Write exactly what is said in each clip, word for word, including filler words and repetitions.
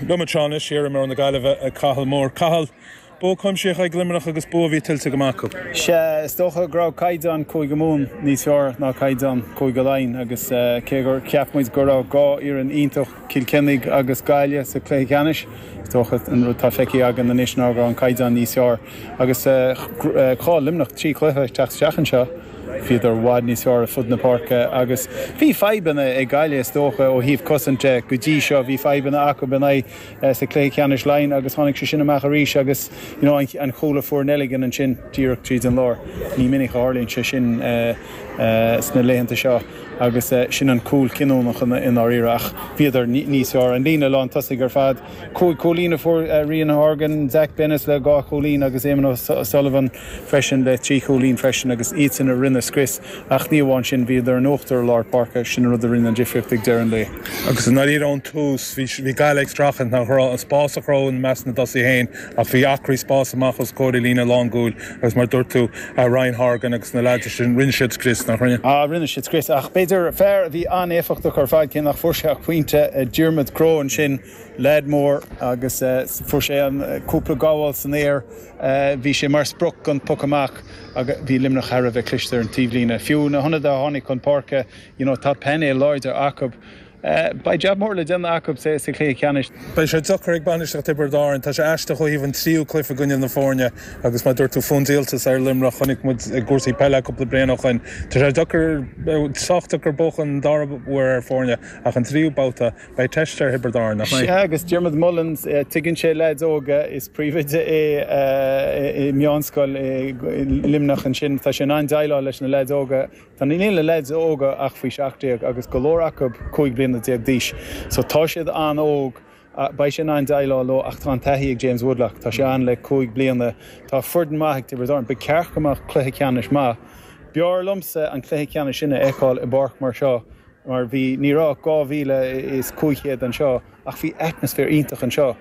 Liom anseo anois iarimreoir na Gaillimhe Cathal Moore. Cathal, bua cuimsitheach ag Luimneach agus bua a bhí tuillte go maith acu. Sea, is dócha go raibh caighdeán Cúige Mumhan níos fearr ná caighdeán Cúige Laighean agus cé gur cheap muid go raibh dhá fhoireann iontach, Cill Chainnigh agus Gaillimh sa chluiche ceannais, is dócha an rud atá feicthe againn anois ná go raibh an caighdeán níos fearr agus chaill Luimneach trí chluiche ag teacht isteach anseo. Bhíodar i bhfad níos fearr ar fud na páirce agus bhí fadhbanna ag Gaillimh is dócha ó thaobh cosaint de go dtí seo. Bhí fadhbanna acu in aghaidh sa chluiche ceannais Laighean agus tháinig sé sin amach arís agus you know an cúl a fuair Nelligan ansin díreach tríd an lár. Ní minic a tharlaíonn sé sin sna laethanta seo agus sin an cúl cinniúnach i ndáiríre ach bhíodar níos fearr. An líne lán tosaigh ar fad, cúig chúilín a fuair Rian Horgan, Zach Bennis le dhá chúilín agus Eamon O'Sullivan freisin le trí chúilín freisin agus iadsan a rinne scrios ach ní amháin sin, bhíodar in uachtar i lár páirce, sin an rud a rinne an difríocht ag deireadh an lae. Agus i ndáiríre ón tús, bhí Gaillimh ag streachailt nach raibh an spás a chruthú i measc na dtosaithe féin ach bhí acraí spáis amach os comhair a líne lánchúil agus mar a dúirt tú, Ryan Horgan agus na leaids sin, rinne siad scrios, nach rinne? Ah, rinne siad scrios ach b'fhéidir fear a bhí an-éifeachtach ar fad cé nach fuair sé ach pointe, Diarmuid Crowe ansin, leaid mór agus fuair sé an cúpla gabháil san aer, bhí sé mar sprioc don poc amach agus bhí Luimneach thar a bheith cliste ar an taobhlíne. Fiú na hionadaithe a tháinig chun páirce, you know, tá painéal láidir acu. Beidh jab mór le déanamh acu sa chluiche ceannais. Beidh sé deacair ag bainistíocht Thiobraid Árann. Tá sé aisteach ó thaobh an tríú cluiche i gcoinne na foirne agus mar a dúirt tú fón díoltas ar Luimneach chonaic muid i gcúrsaí peile cúpla bliain ó shin. Tá sé deacair, sách deacair buachan an dara huair ar foirne ach an tríú babhta beidh teist ar Thiobraid Árann, nach mbeidh? Sea agus Diarmuid Mullins, tuigeann sé leaids óga, is príomhoide é i meánscoil i Luimneach ansin. Tá sé in ann déileáil leis na leaids óga. Tá níl na leaids óga ach faoi seacht déag agus go leor acu cúig bliana déag d'aois. So tá siad an-óg. Beidh sé in ann déileáil leo ach tá an taithí ag James Woodlock. Tá sé ann le cúig bliana. Tá foireann maith ag Tiobraid Árann. Ba cheart go mbeadh cluiche ceannais maith. B'fhearr liomsa an cluiche ceannais sin a fheiceáil i bpáirc mar seo mar bhí, ní raibh ach dhá mhíle is cúig chéad anseo ach bhí atmaisféar iontach anseo.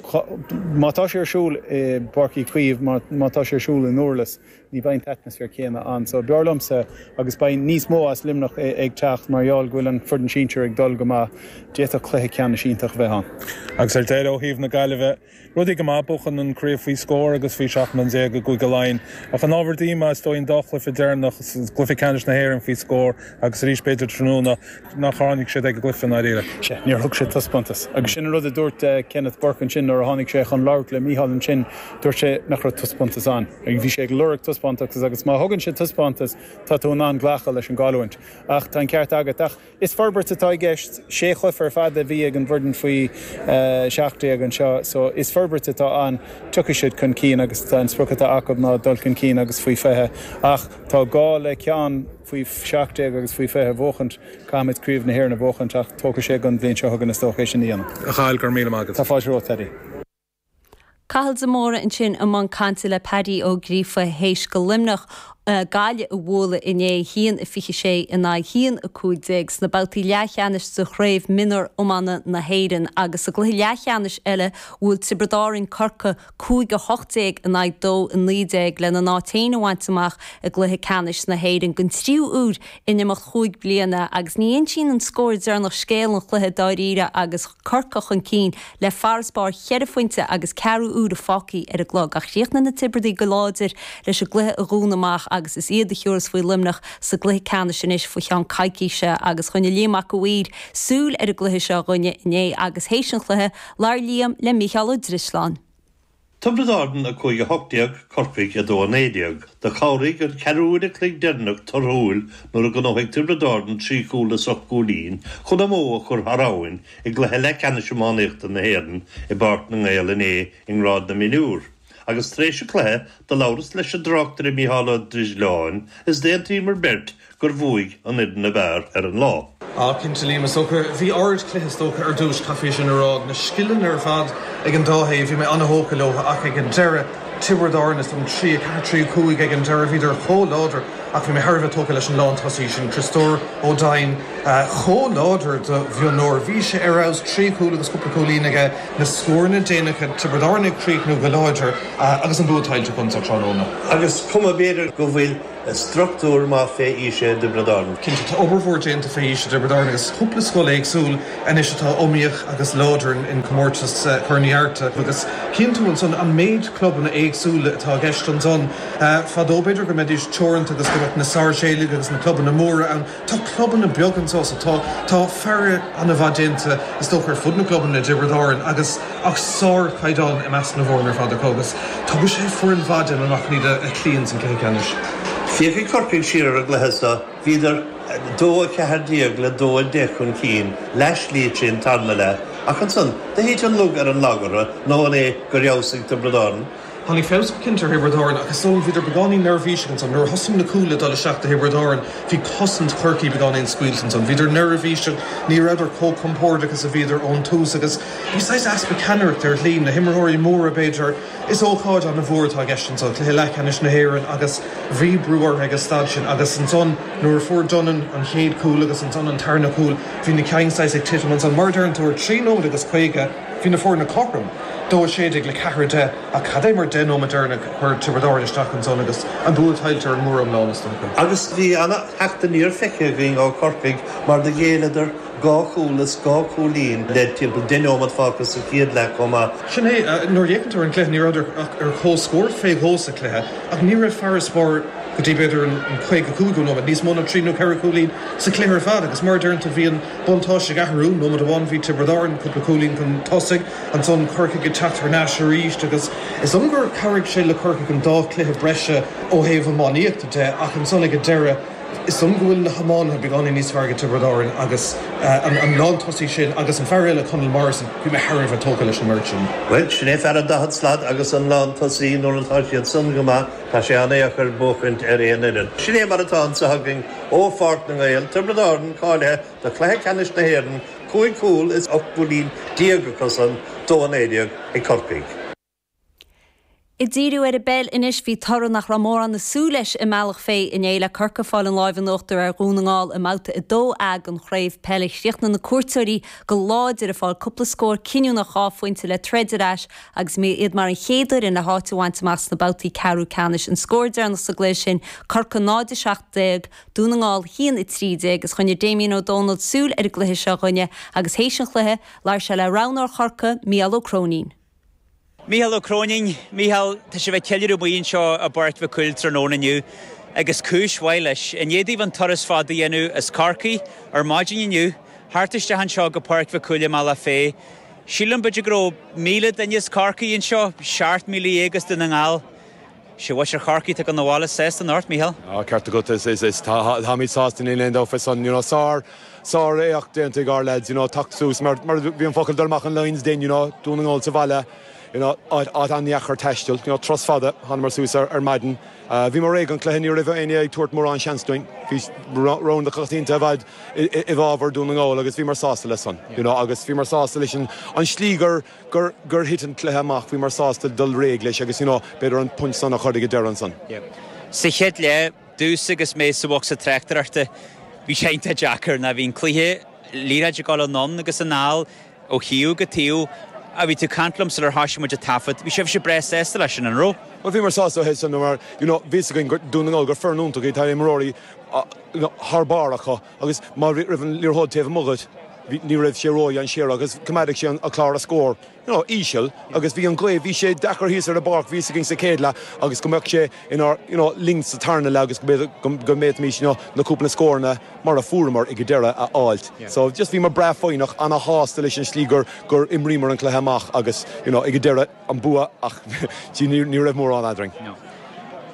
Má tá sé ar siúl i bPáirc Uí Chaoimh, má tá sé ar siúl i nDurlas, ní bheidh an t-atmaisféar céanna ann. So b'fhearr liomsa agus beidh níos mó as Luimneach ag teacht mar gheall go bhfuil an foireann sinsir ag dul go maith. D'fhéadfadh cluiche ceannais iontach a bheith ann. Agus ar deireadh ó thaobh na Gaillimhe, rudaí go maith, buachan an chraobh faoi scór agus faoi seacht mbliana déag i gCúige Laighean. Ach an ábhar díomá is dóigh an dá chluiche deireanach, cluiche ceannais na hÉireann faoi scór agus arís b'fhéidir tráthnóna nach tháinig siad ag an gcluiche i ndáiríre. Sea, níor thug siad taispeántas. Agus sin an rud a dúirt Kenneth Burke ansin nuair a tháinig sé chun labhairt le Mícheál ansin, dúirt sé nach raibh taispeántas ann. Bhí sé ag lorg taispeántas agus má thugann siad taispeántas, tá tú in ann glacadh leis an gcailliúint. Ach tá an ceart agat. Ach is forbairt atá i gceist. Sé chluiche ar fad a bhí ag an bhfoireann faoi seacht déag anseo so is forbairt atá ann. Tiocfaidh siad chun cinn agus tá an sprioc atá acu ná dul chun cinn agus faoi fiche. Ach tá gá le ceann faoi seacht déag agus faoi fiche a bhuachaint. Caithfimid Craobh na hÉireann a bhuachaint ach tógfaidh sé go dtí an bhliain seo chugainn is dócha é sin a dhéanamh. A Chathail, go raibh míle maith agat. Tá fáilte romhat, Paddy. Cathal de Mórdha ansin i mbun cainte le Paddy Ó Gríofa théis do Luimneach Gaillimh a bhualadh inné haon a fiche sé in aghaidh haon a cúig déag sna babhtaí leathcheannais de chraobh mionúr iomána na hÉireann agus sa gcluiche leathcheannais eile bhuail Tiobraid Árann Corcaigh cúig a hocht déag in aghaidh dó a naoi déag lena n-áit féin a bhaint amach i gcluiche ceannais na hÉireann den tríú huair in imeacht chúig bliana agus ní insíonn an scór deireanach scéal an chluiche dáiríre agus Corcaigh chun cinn le farasbarr cheithre phointe agus ceathrú uaire fágtha ar an gclog ach chríochnaigh na Tiobradaigh go láidir leis an gcluiche a dhúnadh amach agus is iad a thiúrfas faoi Luimneach sa gcluiche ceannais anois faoi cheann coicíse agus choinnigh Liam Mac a' Mhaoir súil ar an gcluiche seo dhúinne inné agus théis an chluiche labhair Liam le Mícheál Ó Drisleáin. Tiobraid Árann a cúig a hocht déag, Corcaigh a dó a naoi déag. Do chabhraigh an ceathrú uair a chloig deireanach torthúil nuair a ghnóthaigh Tiobraid Árann trí chúl as ocht gcúilín chun a mbó a chur thar abhainn i gcluiche leathcheannais iománaíochta na hÉireann i bPáirc na nGael inné i ngrád na mionúr. Agus tar éis an chluiche do labhras leis an dtráchtaire Mícheál Ó Drisleáin is d'aontaíomar beirt gur bhuaigh an fhoireann ab fhearr ar an lá. Á, cinnte Liam, is dócha. Bhí ardchluiche is dócha ar dtús, caithfidh sin a rá. Na scileanna ar fad ag an dá thaobh, bhí mé an-thógtha leo ach ag an deireadh, Tiobraid Árann is dóigh trí a ceathair trí a cúig ag an deireadh, bhíodar chomh láidir ach bhí mé thar a bheith tógtha leis an lántosaí sin, Criostóir Ó Doinn, chomh láidir do mhionúir. Bhí sé ar fheabhas, trí chúl agus cúpla cúilín aige, na scóranna déanacha, Tiobraid Árann ag críochnú go láidir agus an bua tuillte acu tráthnóna. Agus cuma b'fhéidir go bhfuil struchtúr maith fé aois i dTiobraid Árann. Cinnte, tá obair mhór déanta fé aois i dTiobraid Árann agus cúpla scoil éagsúil anois atá iomaíoch agus láidir in comórtas Chorn Uí Fhatharta agus cíonn tú ansan an méid clubanna éagsúla atá i gceist ansan. Fadó b'fhéidir go mbeidís teoranta agus go mbeadh na sárseilig agus na clubanna móra ann. Tá clubanna beaga anso so tá tá faire an-mhaith déanta is dócha ar fud na gclubanna i dTiobraid Árann agus ach sárchaighdeán i measc na bhfoirne ar fad acu agus tugann sé foireann mhaith dúinn amach iad a chloí san cluiche ceannais. Féachfaidh Corcaigh siar ar an gcluiche seo, bhíodar dó a ceathair déag le dó a deich chun cinn, leathshlí tríd an tarna leath, ach ansan do thit an lug ar an lag orthu, nó an é gur fheabhsaigh Tiobraid Árann? Tháinig feabhas go cinnte ar Thiobraid Árann ach is dóigh liom bhíodar beagáinín neirbhíseach ansan. Nuair a thosaigh na cúil ag dul isteach do Thiobraid Árann, bhí cosaint Chorcaí beagáinín scaoilte ansan. Bhíodar neirbhíseach, ní rabhadar chomh compordach is a bhíodar ón tús agus bhí saghas easpa ceannaireachta ar shlí, na himreoirí móra b'fhéidir. Is ócáid an-mhór atá i gceist anso, cluiche leathcheannais na hÉireann agus bhí brú orthu ag an staid sin agus ansan nuair a fuair Dunnan an chéad chúl agus ansan an tarna cúl, bhí na cinn saghas ag titim ansan. Mar a deireann tú ar trí nóiméad agus caoga, bhí na foirne cothrom, dó a sé déag le ceathair a deich, ach cad é mar deich nóiméad deireanach a chuir Tiobraid Árann isteach ansan agus an bua tuillte ar an mór iomlán is dócha. Agus bhí an-theacht aniar feicthe againn ó Chorcaigh mar do ghéilleadar dhá chúl is dhá chúilín le timpeall deich nóiméad fágtha sa chéad leath chomh maith. Sin é, nuair a fhéachann tú ar an gcluiche ní rabhadar ach ar comhscór fé dhó sa chluiche ach ní raibh farasbarr go dtí b'fhéidir an caoga cúigiú nóiméad, níos mó ná trí nó ceithre chúilín sa chluiche ar fad agus mar a deireann tú bhí an buntáiste ag athrú, nóiméad amháin bhí Tiobraid Árann cúpla cúilín chun tosaigh, ansan Corcaigh ag teacht thar n-ais arís agus is dóigh liom gur chabhraigh sé le Corcaigh an dá chluiche breise ó thaobh iománaíochta de ach ansan ag an deireadh is dóigh liom go bhfuil na hiománaithe beagáinín níos fearr ag Tiobraid Árann agus an lántosaí sin agus an fear eile Conall Morrison, bhí mé thar a bheith tógtha leis an mbeirt sin. Bhuel, sin é fear an daichead slat agus an lántosaí nuair atá siad san go maith, tá sé an-deacair buachaint ar aon fhoireann. Sin é mar atá anseo againn ó Pháirc na nGael, Tiobraid Árann cáilithe do chluiche ceannais na hÉireann, cúig chúl is ocht gcúilín déag acusan, dó a naoi déag ag Corcaigh. Ag díriú ar an bpeil anois bhí toradh nach raibh mórán ag súil leis i mBealach Féich inné le Corcaigh ag fáil an láimh in uachtar ar Dhún na nGall i mbabhta a dó A den chraobh peile. Chríochnaigh na cuairteoirí go láidir ag fáil cúpla scór cinniúnach dhá phointe le troid ar ais agus iad mar an chéad fhoireann le háit a bhaint amach sna babhtaí ceathrú ceannais. An scór deireanach sa gcluiche sin Corcaigh náid a seacht déag, Dún na nGall haon a trí déag agus choinnigh Damien Ó Dónaill súil ar an gcluiche seo dhúinne agus théis an chluiche labhair sé le roghnóir Chorcaí, Mícheál Ó Cróinín. Mícheál Ó Cróinín, Mícheál, tá sibh ag ceiliúradh amuigh anseo i bPáirc Mhic Cumhaill tráthnóna inniu agus cúis mhaith leis. I ndiaidh daoibh an turas fada a dhéanamh as Corcaigh ar maidin inniu, thart isteach anseo go Páirc Mhic Cumhaill i mBealach Féich. Sílim b'fhéidir go raibh míle duine as Corcaigh anseo, seacht míle dhéag as Dún na nGall. Sé mhuintir Chorcaí atá ag dul abhaile sásta anocht, Mícheál. Á, ceart agat, is, is, is, táimid sásta níl aon dabht fé san, you know, sár, sár-éacht déanta ag ár lads, you know, teacht suas mar, mar bhí an focal dul amach an Lions Den, you know, Dún na nGall sa bhaile, you know, áit, áit an-dheacair taisteal, you know, turas fada, thánamar suas ar, ar maidin. Uh, bhíomar réidh don chluiche ní raibh éinne ag tabhairt mórán seans dúinn. Bhí rogha na coitianta i bhfad i bhfabhar Dún na nGall agus bhíomar sásta leis san, you know, agus bhíomar sásta leis an, an slí gur, gur, gur thit an cluiche amach, bhíomar sásta dul réidh leis agus, you know, b'fhéidir an pointe san a chur ag an deireadh ansan. Sa chéad leath, dús agus mé sa bhocsa tráchtaireachta, bhí sé iontach deacair ná bhí an cluiche liathróid ag dul anonn agus anall ó thaobh go taobh a bhí tú ag caint liom sular thosaigh muid ag taifead. Bhí sibhse breá sásta leis sin, an raibh? Well bhíomar sásta é san mar you know, bhí a fhios againn gur Dún na nGall gur foireann iontach iad, tá imreoirí you know, thar barr acu agus má raibh an liathróid taobh amuigh agat, ní raibh sé ródhainséarach agus coimeádfaidh sé an clár a scór you know, íseal agus bhí an ghaoth, bhí sé deacair thíos ar an bpáirc, bhí a fhios againn sa chéad leath agus go mbeadh sé inár you know, linn sa tarna leath agus go go mbeidís you know, na cúpla scóranna mar a fuaireamar ag an deireadh a fháilt. So just bhíomar breá foighneach ana-shásta leis an slí gur gur imríomar an cluiche amach agus you know, ag an deireadh an bua ach ní ní raibh mórán eadrainn.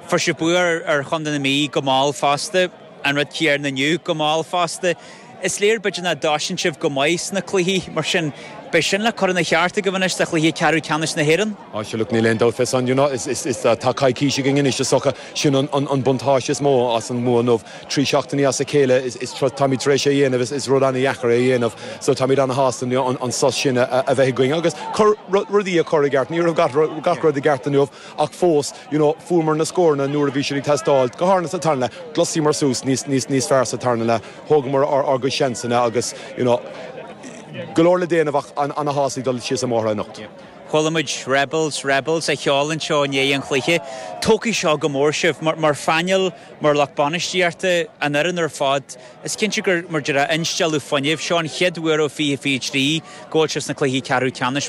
Fuair sibh bua ar, ar Chontae na Mí go mall fosta, an rud céanna inniu go mall fosta. Is léir b'fhéidir nach dtosaíonn sibh go maith sna cluichí mar sin beidh sin le cur ina cheart agaibh anois do chluiche ceathrú ceannais na hÉireann. Á sure look níl aon dabht fé san you know, is, is, is, tá coicís againn anois is dócha sin an, an, an buntáiste is mó as an mbua inniu. Trí seachtainí as a chéile is, is táimid tar éis é a dhéanamh is, is rud an-dheacair é a dhéanamh so táimid ana-shásta an, an sos sin a, a bheith againn agus cur rudaí a chur i gceart ní raibh gach, gach rud i gceart inniu ach fós you know, fuaireamar na scóranna nuair a bhí siad ag teastáil go háirithe sa tarna leath ghluaiseamar suas níos, níos, níos fearr sa tarna leath thógamar ár, ár gcuid seansanna agus you know, go leor le déanamh ach an ana-shásta dul síos an bóthar anocht. Chuala muid Rebels Rebels á cheol anseo i ndiaidh an chluiche. Tógfaidh seo go mór sibh mar, mar phainéal mar lucht bainistíochta an fhoireann ar fad. Is cinnte gur mar deir instealladh fuinnimh seo an chéad uair ó fiche fiche trí go bhfuil sibh sna cluichí ceathrú ceannais